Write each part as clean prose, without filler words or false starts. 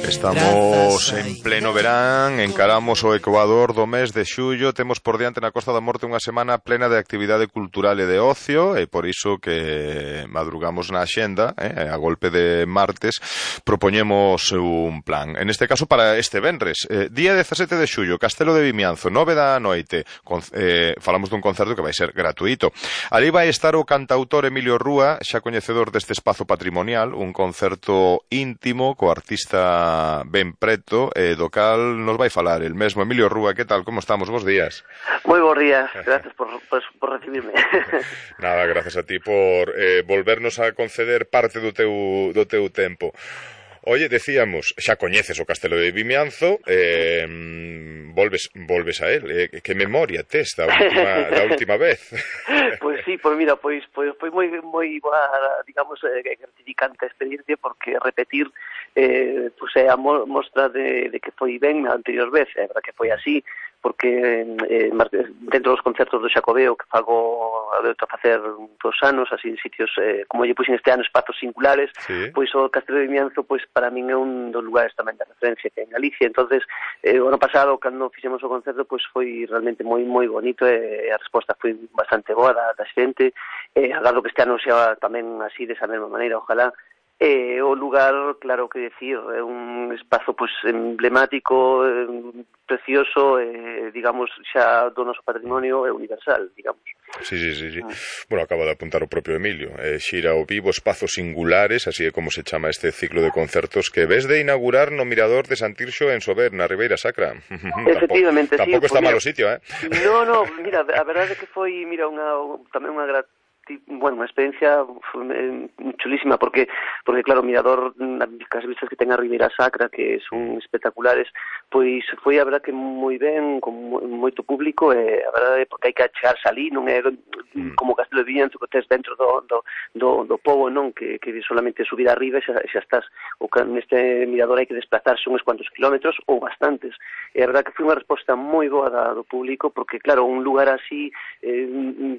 Estamos en pleno verán, encaramos o ecuador do mes de xullo, temos por diante na Costa da Morte unha semana plena de actividade cultural e de ocio, e por iso que madrugamos na axenda, a golpe de martes, propoñemos un plan. En este caso para este venres, día 17 de xullo, Castelo de Vimianzo, 9 da noite, falamos dun concerto que vai ser gratuito. Ali vai estar o cantautor Emilio Rúa, xa coñecedor deste espazo patrimonial, un concerto íntimo co artista ben preto, do cal nos vai falar el mesmo Emilio Rúa. Que tal, como estamos? Bos días. Moi bons días, gracias por recibirme. Nada, gracias a ti por volvernos a conceder parte do teu tempo. Oye, decíamos, xa coñeces o Castelo de Vimianzo, volves a él, que memoria tes da última vez? Pois sí, mira, foi moi digamos, gratificante a experiencia, porque repetir pois é a mostra de que foi ben a anterior vez, é verdad que foi así, porque dentro dos concertos do Xacobeo que fago a facer 2 anos, así en sitios, como lle puxen este ano, espazos singulares, sí. Pois o Castelo de Vimianzo, pois para min é un dos lugares tamén de referencia que en Galicia. Entonces, o ano pasado, cando fixemos o concerto, pois foi realmente moi bonito, e a resposta foi bastante boa da xente. Agardo que este ano xa tamén así, desa mesma maneira, ojalá. O lugar, claro que decir, é un espazo pois emblemático, precioso, digamos, xa do noso patrimonio é universal, digamos. Sí. Bueno, acaba de apuntar o propio Emilio, xira ao vivo espazos singulares, así é como se chama este ciclo de concertos que ves de inaugurar no Mirador de Santirxo en Sober, na Ribeira Sacra. Efectivamente, tampouco está malo o sitio, No, mira, a verdade é que foi, mira, tamén unha unha experiencia chulísima, porque claro, o Mirador, as vistas que ten a Ribeira Sacra, que son espectaculares, pois foi a verdade que moi ben, con moito público, e a verdade é porque hai que achegarse ali, non é como Castelo de Vimianzo que tes dentro do pobo, non, que solamente subir arriba e xa estás. Neste Mirador hai que desplazarse uns cuantos kilómetros ou bastantes, e a verdade que foi unha resposta moi boa do público, porque claro, un lugar así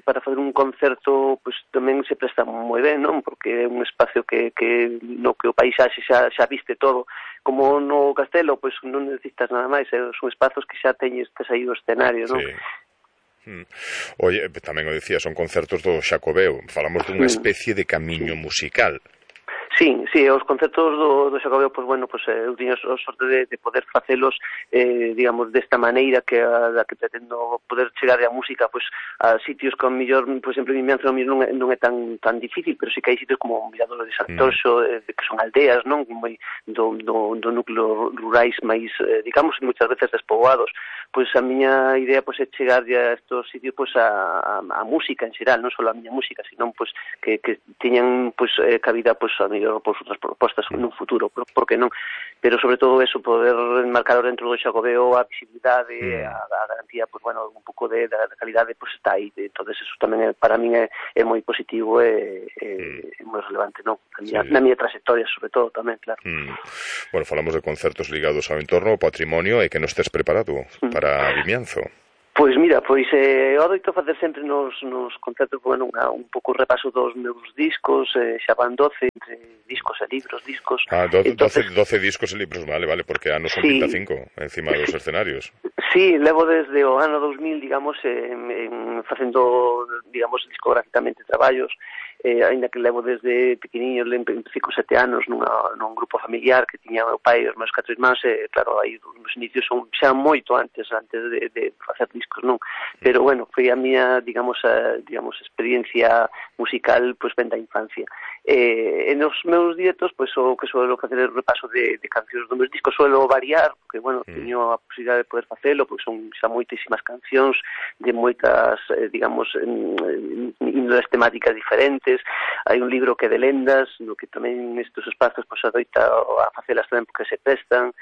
para fazer un concerto pois tamén se presta moi ben, non? Porque é un espacio que no que o paisaxe xa viste todo. Como no castelo, pois non necesitas nada máis, son espazos que xa tes aí o escenario, non? Sí. Oye, tamén o decía, son concertos do Xacobeo, falamos dunha especie de camiño musical. Sí, os concertos do Xacobeo, pois bueno, pois eu tiño a sorte de poder facelos, digamos, desta maneira que pretendo poder chegar a música, pois a sitios que, ao mellor, por exemplo, en Vimianzo non é tan difícil, pero sí que hai sitios como o Mirador de Santorxo, que son aldeas, non? Moi do núcleo rurais máis, digamos, moitas veces despoboados. Pois a miña idea pois é chegar a estos sitios pois a música en xeral, non só a miña música, sino pois que teñan pois cabida pois a mellor por outras propostas nun futuro, por que non? Pero sobre todo eso, poder enmarcar dentro do Xacobeo a visibilidade, a garantía, pois bueno, un pouco da calidade, pois está aí. Entonces eso tamén para min é moi positivo e moi relevante, non? Na miña trayectoria, sobre todo, tamén, claro. Bueno, falamos de concertos ligados ao entorno, ao patrimonio, e que non estés preparado para Vimianzo. Pois mira, eu adoito facer sempre nos concertos, bueno, un pouco repaso dos meus discos, xa van 12 entre discos e libros, 12 discos e libros, vale, porque anos son 25 encima dos escenarios. Sí, levo desde o ano 2000, digamos, facendo, digamos, discográficamente traballos, ainda que levo desde pequeniño, empecé con 7 anos nun grupo familiar que tiña o meu pai e os meus 4 irmáns, e claro, aí os inicios son xa moito antes de facer discos, non? Pero bueno, foi a miña, digamos, experiencia musical, pois ben da infancia. E nos meus directos, pois o que suelo facer é o repaso de cancións dos meus discos, suelo variar, porque, bueno, teño a posibilidade de poder facelo, porque son xa moitísimas cancións de moitas, digamos, índoles temáticas diferentes. Hai un libro que é de lendas, no que tamén nestes espazos pois adoita a facelas tamén porque se prestan,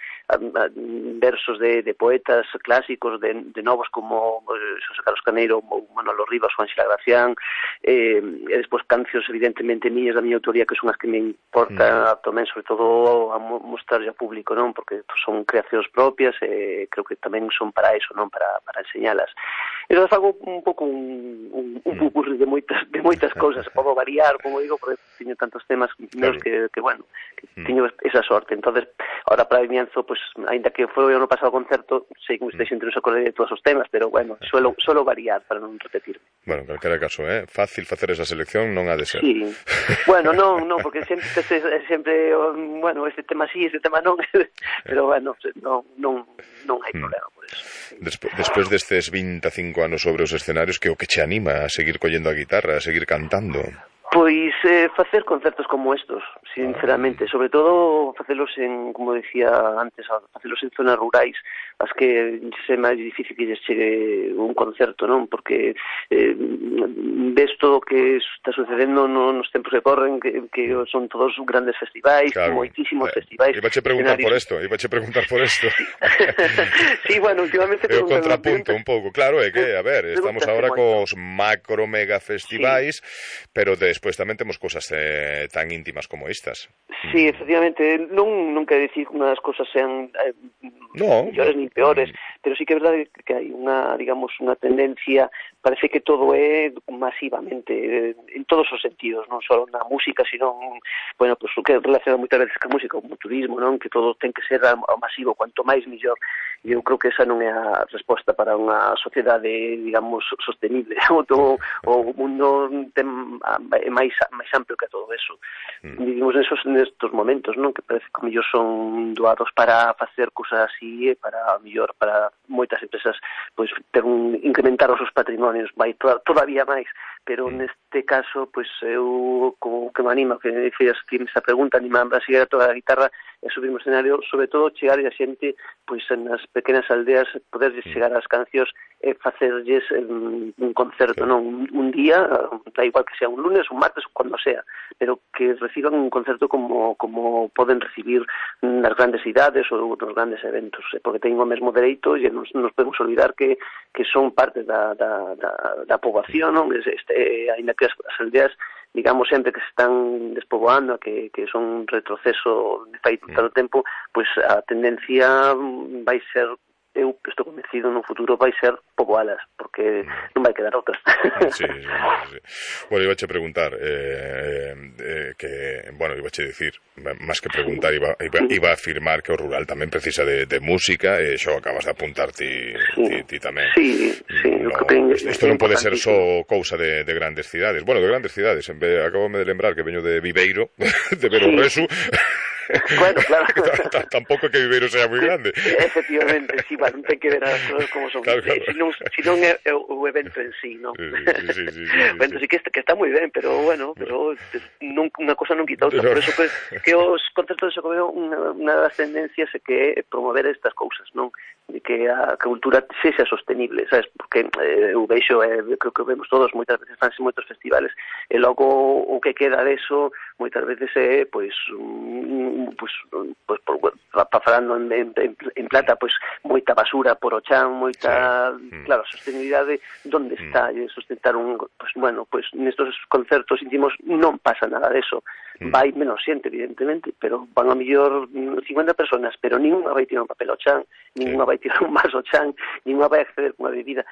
versos de poetas clásicos, de novos como Xosé Carlos Caneiro ou Manolo Rivas ou Ángela Gracián, e despois cancións evidentemente mías da miña autoría que son as que me importa tamén, sobre todo, a mostrar ao público, non? Porque son creacións propias e creo que tamén son para eso, non? Para enseñalas. E eu fago un pouco un pupurri de moitas cousas, podo variar, como digo, porque teño tantos temas meus que bueno, que teño esa sorte. Entonces, ahora para o vimienzo, pues, ainda que foi o ano pasado concerto, sei que xente non se acorde de todos os temas, pero bueno, suelo variar para non repetirme. Bueno, en calquera caso, fácil facer esa selección non ha de ser. Sí. Bueno, non, porque sempre, bueno, este tema sí, este tema non, pero bueno, non hai problema por eso. Despois destes 25 anos sobre os escenarios, que o que che anima a seguir collendo a guitarra, a seguir cantando? Pois facer concertos como estos, sinceramente, sobre todo facelos en, como decía antes, facelos en zonas rurais, as que é máis difícil que lles chegue un concerto, non? Porque ves todo o que está sucedendo nos tempos que corren, que son todos grandes festivais, claro, moitísimos festivais. Ibache preguntar por esto. Sí, bueno, últimamente... É o contrapunto un pouco, claro, é que, a ver, estamos agora cos macro mega festivais, pero despois tamén temos cosas tan íntimas como estas. Sí, efectivamente, non quero dicir que unhas cosas sean mellores ni peores, pero sí que é verdade que hai unha, digamos, unha tendencia, parece que todo é masivamente, en todos os sentidos, non só na música, sino, bueno, pues o que relaciona moitas veces ca música, o turismo, non? Que todo ten que ser ao masivo, cuanto máis mellor. E eu creo que esa non é a resposta para unha sociedade, digamos, sostenible. O mundo é máis amplo que todo eso. Vivimos nestos momentos, non? Que parece que mellor son doados para facer cousas así, para mellor para moitas empresas pois incrementar os seus patrimonios, vai todavía máis, pero neste caso, pois eu como que me anima, que fez esta pregunta, anima a seguir a toda a guitarra e subir no escenario, sobre todo chegar a xente pois nas pequenas aldeas, poderlles chegar ás cancións e facerlles un concerto, non? Un día, da igual que sea un lunes, un martes, cando sea, pero que reciban un concerto como poden recibir nas grandes cidades ou nos grandes eventos, porque teñen o mesmo dereito e nos podemos olvidar que son parte da poboación, non? Ainda que as aldeas, digamos, sempre que se están despoboando, que son un retroceso de fai tanto tempo, pois a tendencia vai ser, eu estou convencido, no futuro vai ser poboalas, porque non vai quedar outras. Sí. Bueno, iba a preguntar que, bueno, iba a decir, máis que preguntar, iba a afirmar que o rural tamén precisa de música, e xo acabas de apuntar ti tamén. Sí. Isto non pode ser só cousa de grandes cidades. Bueno, de grandes cidades, acabome de lembrar que veño de Viveiro, de Berorresu. Bueno, claro. Tampouco que Viveiro sea moi grande. Efectivamente, sí, bueno, ten que ver as cousas como son. Claro. Si non é o evento en sí, non? Sí. Bueno, sí que está moi ben, pero bueno, unha cosa non quita outra. Por eso que os concertos de Xacobeo, unha das tendencias é que promover estas cousas, non? De que a cultura sexa sostenible, sabes? Porque eu veixo, creo que vemos todos, moitas veces fanse moitos festivales, e logo o que queda deso moitas veces é, pois falando en plata, pois moita basura por o chan, moita, claro, a sostenibilidade onde está, e sustentar nestos concertos íntimos non pasa nada deso. Vai menos xente, evidentemente, pero van a mellor 50 personas, pero ninguna vai tirar un papel ao chan, ninguna vai tirar un vaso ao chan, ninguna vai acceder con unha bebida.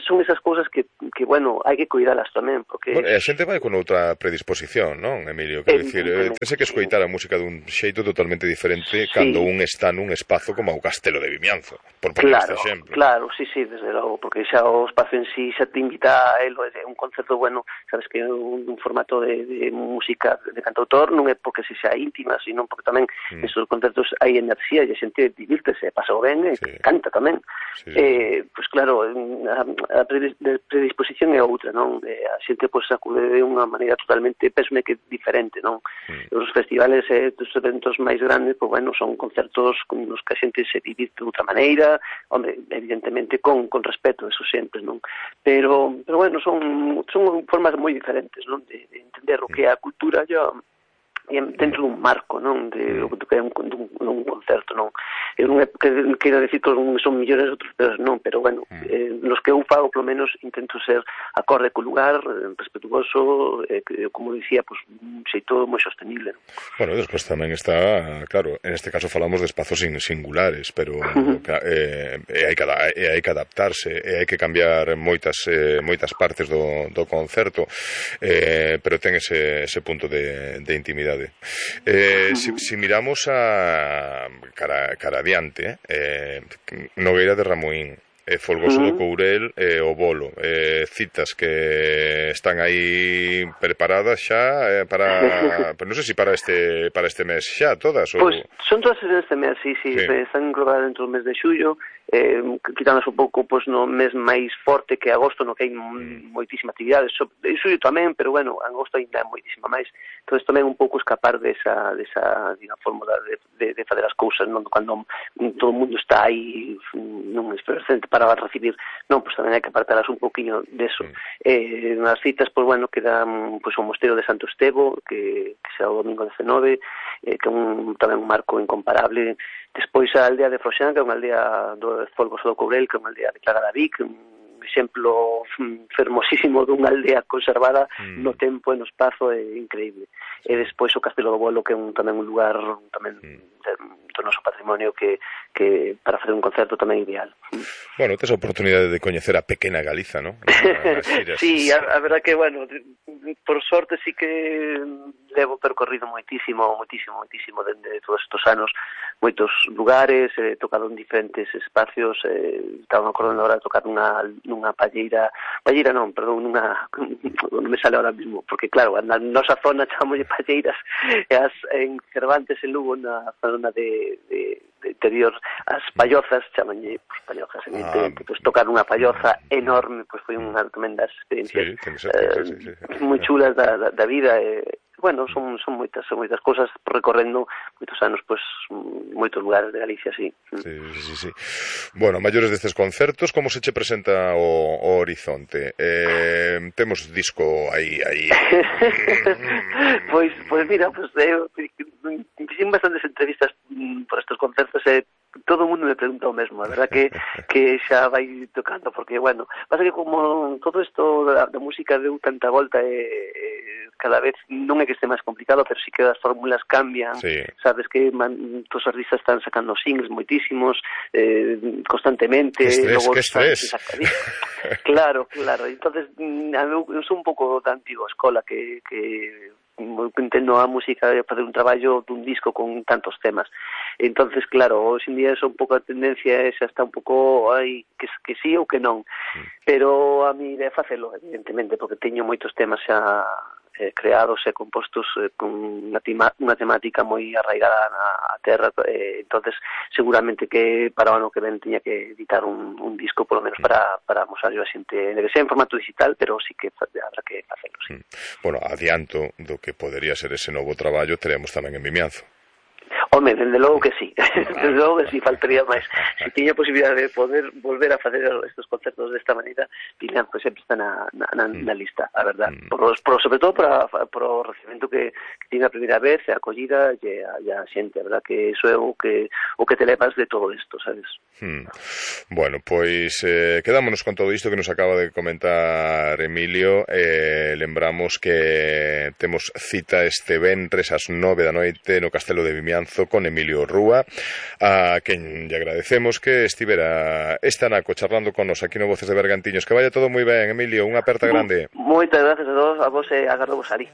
Son esas cousas que bueno, hai que cuidalas tamén, porque... Bueno, a xente vai con outra predisposición, non, Emilio? Quero dicir, tense que escoitar a música dun xeito totalmente diferente cando un está nun espazo como o Castelo de Vimianzo, por poner este exemplo. Claro, sí, desde logo, porque xa o espazo en sí xa te invita a elo, é un concerto, bueno, sabes que é un formato de música de cantautor, non é porque se xa íntima, sino porque tamén nestes concertos hai enerxía e a xente divírtese, pasa o ben e canta tamén. Pois claro, a predisposición é outra, non? A xente pois acude de unha maneira totalmente, pesme que diferente, non? Os festivales e os eventos máis grandes, pois bueno, son concertos nos que a xente se divirte de outra maneira, hombre, evidentemente con respeto, eso sempre, non? Pero bueno, son formas moi diferentes, non? De entender o que é a cultura dentro dun marco, non? De o que é un concerto, non? eu non é que quero decir que son millores outros, pero bueno, nos que eu fago, polo menos, intento ser acorde co lugar, respetuoso, como dicía, pues, un xeito moi sostenible. Bueno, despois tamén está, claro, en este caso falamos de espazos singulares, pero hai que adaptarse, hai que cambiar moitas partes do concerto, pero ten ese punto de intimidade. Si miramos cara adiante, Nogueira de Ramuín, Folgoso do Courel, o Bolo, citas que están aí preparadas xa para, non sei se para este mes xa todas ou... Pois son todas este mes, sí. Están englobadas dentro do mes de xullo, quitándonos un pouco no mes máis forte que agosto, no que hai moitísima actividade, xullo tamén, pero bueno, agosto ainda é moitísima máis. Entón tamén un pouco escapar desa fórmula de fazer as cousas, non, cando todo o mundo está aí non presente para recibir, non, pois tamén hai que apartalas un poquinho deso. Nas citas, pois bueno, quedan o Mosteiro de Santo Estevo, que será o domingo 19, que é tamén un marco incomparable. Despois a aldea de Froxán, que é unha aldea do Folgoso do Courel, que é unha aldea declarada Vic, un exemplo fermosísimo dunha aldea conservada no tempo e no espazo, é increíble. E despois o Castelo do Bolo, que é tamén un lugar tamén do noso patrimonio que para facer un concerto tamén ideal. Bueno, tes a oportunidade de coñecer a pequena Galiza, ¿no? Sí, a verdad que, bueno, por sorte sí que levo percorrido moitísimo dende todos estes anos, moitos lugares, he tocado en diferentes espacios, estaba acordando ahora de tocar nunha palleira non me sale ahora mismo, porque claro, na nosa zona chamámoslle palleiras, en Cervantes, en Lugo, na zona de interior, as pallozas, chamanlle pallozas, evidentemente, pues tocar unha palloza enorme, pues foi unha tremenda experiencia, moi chulas da vida, bueno, son moitas cousas, recorrendo moitos anos, pues moitos lugares de Galicia, sí. Sí. Bueno, maiores destes concertos, como se che presenta o horizonte? Temos disco aí. Pois mira, fixen bastantes entrevistas por estes concertos e todo o mundo me pregunta o mesmo, a verdad que xa vai tocando, porque, bueno, pasa que como todo isto da música deu tanta volta cada vez non é que este máis complicado, pero sí que as fórmulas cambian, sabes que os artistas están sacando singles moitísimos, constantemente. Que estrés. Claro, entonces eu sou un pouco da antiga escola que entendo a música de facer un traballo dun disco con tantos temas. Entonces, claro, hoxe en día é un pouco a tendencia, xa está un pouco que sí ou que non. Pero a mi idea é facelo, evidentemente, porque teño moitos temas xa creados e compostos con unha temática moi arraigada na terra, entonces seguramente que para o ano que ven tiña que editar un disco, polo menos para mostrar a xente, que sea en formato digital, pero sí que habrá que facelo, sí. Bueno, adianto do que podería ser ese novo traballo, teremos tamén en Vimianzo. Home, dende logo que sí, dende logo que sí, faltaría máis. Se tiña a posibilidade de poder volver a facer estes concertos desta maneira, Vimianzo sempre está na lista, a verdad. Sobre todo por o recibimento que tiene a primeira vez, a acollida e a xente, a verdad que iso é o que te levas de todo isto, sabes? Bueno, pois quedámonos con todo isto que nos acaba de comentar Emilio. Lembramos que temos cita este venres ás 9 da noite no Castelo de Vimianzo con Emilio Rúa, a quen lle agradecemos que estivera esta naco charlando con nos aquí no Voces de Bergantiños. Que vaya todo moi ben, Emilio, unha aperta grande. Moitas gracias a todos, a vos e agardo vos ali.